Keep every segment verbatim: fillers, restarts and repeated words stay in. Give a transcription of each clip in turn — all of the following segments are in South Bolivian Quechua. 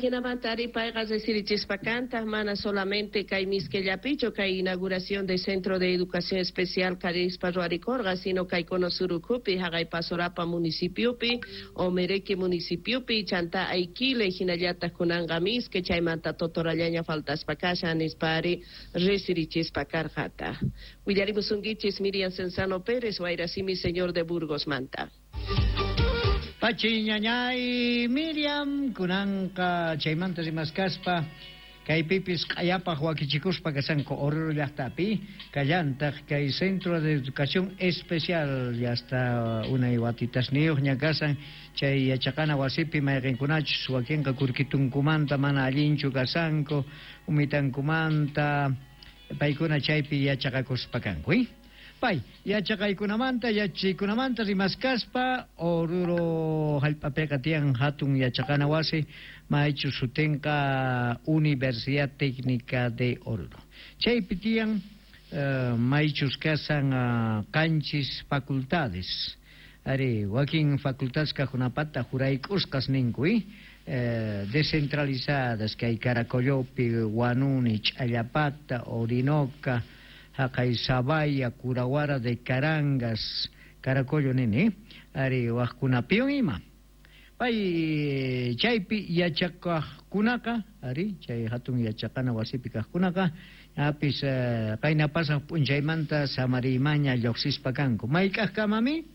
Ajinamanta ari payqa resirichispa kantaq mana solamente kay Mizquellapichu kay inauguración de Centro de Educación Especial karispa ruwarikurqa, sino kay Cono Sur ukhupi, haqay Pasorapa municipiopi, Omereque municipiopi, chanta Aiquile, hinallataq kunanqa Mizque, chaymanta Totorallaña faltaspa kashan nispa ari resirichispa karqata. Willarimusunkichis Miriam Cenzano Pérez, Wayrasimi Señor de Burgos manta. Pachi ñañay Miriam kunanqa chaymanta rimaskaspa kaypipis q'ayapaq wakichikuspa kasanku Oruro llaqtapi kallantaq kay Centro de Educación Especial hasta unay watitasniyuqña kasan chay yachaqana wasipi mayqinkunachus wakinqa kurkitunkumanta mana allinchu kasanku umitankumanta paykuna chaypi yachaqakuspa kanku, eh? Pay, yachaqaykunamanta, yachaykunamanta rimaskaspa Oruro hallp'apiqa tiyan hatun yachaqana wasi maychu sutinqa Universidad Técnica de Oruro. Chaypi tiyan uh, maychus kasan uh, qanchis facultades. Ari, wakin facultades kajunapata jurayk'usqas ninku, eh? Eh, descentralizadas kay Caracollopi, Huanuni, Ch'allapata, Orinoca, haqay Sabaya, Curahuara de Carangas, Caracollo nini, ari waqkunapiwan ima. Pay chaypi yachaqaqkunaqa, ari chay hatun yachaqana wasipi kaqkunaqa, apis uh, qayna pasaq p'unchaymanta samariymaña lluqsispa kanku. Mayk'aqkamami?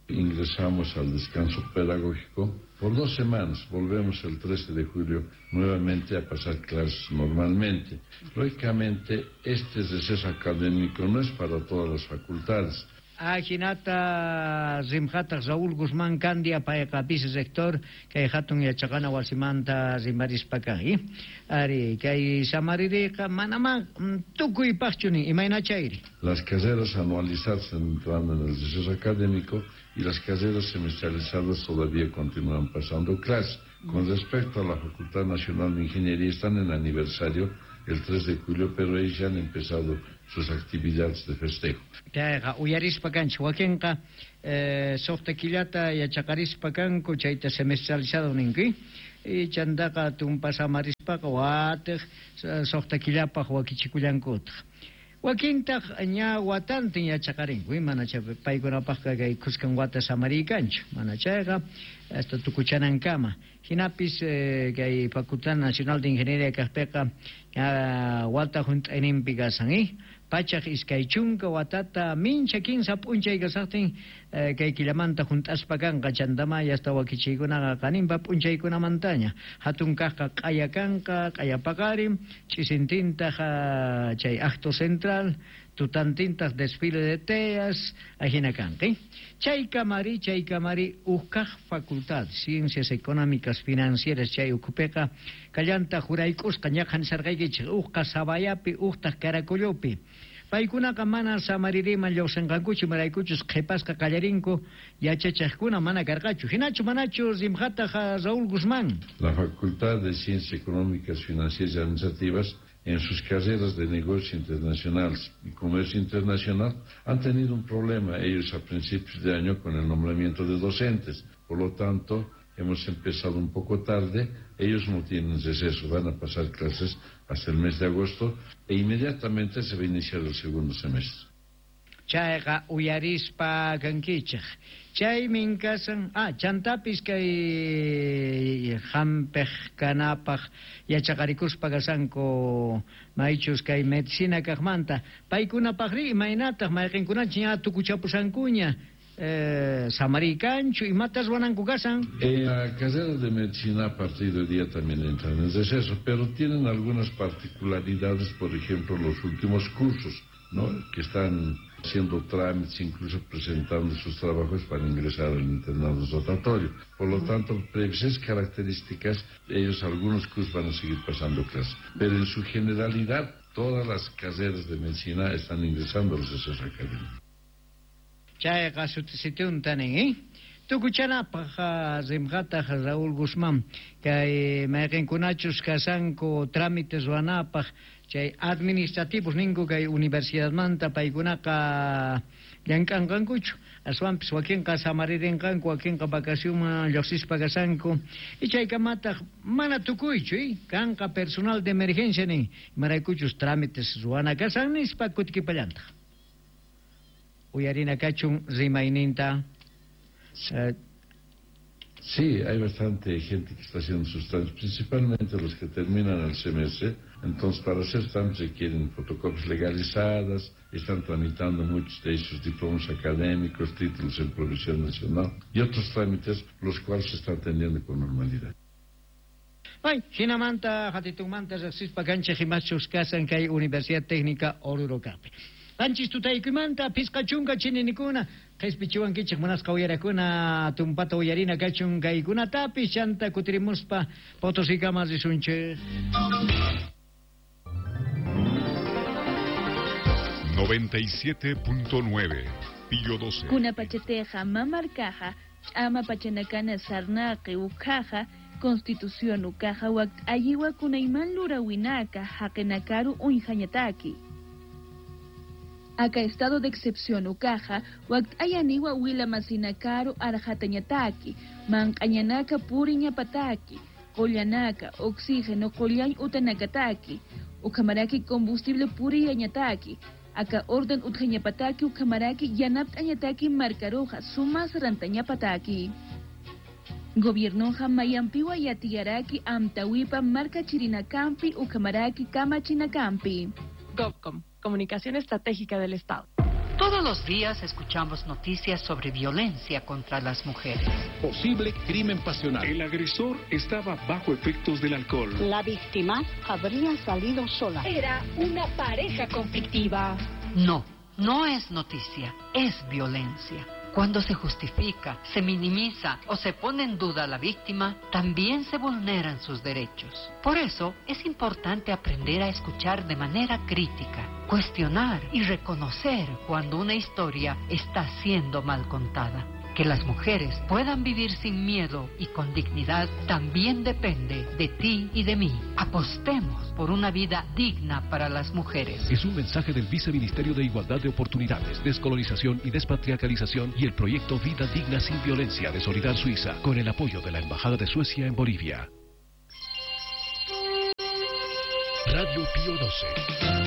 Ingresamos al descanso pedagógico por dos semanas. Volvemos el trece de julio nuevamente a pasar clases normalmente. Lógicamente, este receso académico no es para todas las facultades. Ajinata rimqataq Raúl Guzmán Candia payqa vicerrector kay hatun yachaqana wasimanta rimarispa kan, eh? Ari kay samaririqa manamá tukuypaqchu nin imayna chayri. Las carreras anualizadas entrando en el receso académico y las carreras semestralizadas todavía continúan pasando clases. Con respecto a la Facultad Nacional de Ingeniería, están en aniversario el tres de julio, pero ellos ya han empezado sus actividades de festejo. Chayqa uyarispa kanchik wakinqa eh, suqta killata yachaqarispa kanku chayta semestralizado ninku y chantaqa tumpa samarispaqa watiq suqta killapaq wakichikullankutaq. Wakintaq ña watantin yachaqarinku, mana chay paykunapaqqa kay khuskan wata samariykanchu, mana chayqa hasta tukuchanankama. Hinapis eh, kay Facultad Nacional de Ingeniería kaqpiqa ña wata hunt'ayninpi kasan, eh? Pachaq iskay chunka watata mincha kinsa p'unchay kasaqtin eh, kay killamanta hunt'aspa kanqa chantama hasta wakichiykunaqa qaninpa p'unchaykunamantaña hatun kaqqa q'aya kanqa q'aya paqarin ch'isintintaq chay acto central tutantintaq desfile de teas ajina kanqa, eh? Chay kamari chay kamari ukkaq facultad Ciencias Económicas Financieras chay ukhupiqa kallanta jurayk'usqa ñaqhan sarqaykichik uqqa Sabayapi uqtaq Caracollopi. Paykunaqa mana samaririman lluqsinqankuchu maraykuchus qhipasqa qallarinku yachachaqkuna mana karqachu. Hinachu manachu rimqataq Raúl Guzmán. La Facultad de Ciencias Económicas, Financieras y Administrativas en sus carreras de negocios internacionales y comercio internacional han tenido un problema ellos a principios de año con el nombramiento de docentes. Por lo tanto, hemos empezado un poco tarde, ellos no tienen receso, van a pasar clases hasta el mes de agosto e inmediatamente se va a iniciar el segundo semestre. Chayqa uyarispa kankichik. Chaymin kasan, ah, chantapis kay hampiq kanapaq yachaqarikuspa kasanku maychus kay medicina kaqmanta. Paykunapaqri imaynataq mayqinkunachik ña tukuchapusankuña eh, samariykanchu imatas ruwananku kasan. En la carrera de medicina a partir de hoy día también entran en receso, pero tienen algunas particularidades, por ejemplo, los últimos cursos, ¿no?, que están haciendo trámites, incluso presentando sus trabajos para ingresar al internado rotatorio. Por lo tanto, esas características, ellos algunos cursos van a seguir pasando clases. Pero en su generalidad, todas las carreras de medicina están ingresando a los recesos académicos. Chayqa sutitunta nin, eh? Tukuchanapaq rimqataq Raúl Guzmán kay mayqinkunachus kasanku trámites ruwanapaq Chay administrativos ninku kay universidadmanta paykunaqa llank'anqankuchu, aswanpis wakinqa samaririnqanku, wakinqa vacacionman lluqsispa kasanku, y chaykamataq mana tukuychu, eh? Kanqa personal de emergencia nin, imaraykuchus trámites ruwana kasan nispa kutikipallantaq. Uyarina kachun rimayninta. Eh, Sí, hay bastante gente que está haciendo sus trámites, principalmente los que terminan el semestre. Entonces, para hacer trámites requieren fotocopias legalizadas, están tramitando muchos de ellos diplomas académicos, títulos en provisión nacional y otros trámites, los cuales se están atendiendo con normalidad. Ay, jinamanta, jatitunmanta, riqsispa kanchik imachus kasan kay Universidad Técnica Oruro kaqpi. Qanchis tutaykuymanta phisqa chunka chininikuna qhispichiwankichik munasqa uyarakuna tumpata uyarina kachun kaykunatapis chanta kutirimuspa Potosikama risunchik. noventa y siete punto nueve, Pío doce. Kunapachateja mamarkaja, ch'ama pachanakana sarnaqi ukhaja, Constitución ukaja wak ayiwa kunayman lurawinaka haqinakaru uñjañataki. Acá estado de excepción ukaja, wak ayaniwa wila masinakaru arjatañataki, manqañanaka puriñapataki, qollanaka, oxígeno qollañ utanakataki, ukamaraki combustible puriyañataki, acá orden utjañapataki ukamaraki yanaptañataki marcaroja sumas rantañapataki. Gobiernoja mayampiwa yatiyaraki amtawipa marca chirinakampi ukamaraki kamachinacampi. GovCom, Comunicación Estratégica del Estado. Todos los días escuchamos noticias sobre violencia contra las mujeres. Posible crimen pasional. El agresor estaba bajo efectos del alcohol. La víctima habría salido sola. Era una pareja conflictiva. No, no es noticia, es violencia. Cuando se justifica, se minimiza o se pone en duda a la víctima, también se vulneran sus derechos. Por eso es importante aprender a escuchar de manera crítica, cuestionar y reconocer cuando una historia está siendo mal contada. Que las mujeres puedan vivir sin miedo y con dignidad también depende de ti y de mí. Apostemos por una vida digna para las mujeres. Es un mensaje del Viceministerio de Igualdad de Oportunidades, Descolonización y Despatriarcalización y el proyecto Vida Digna Sin Violencia de Solidar Suiza, con el apoyo de la Embajada de Suecia en Bolivia. Radio Pío doce.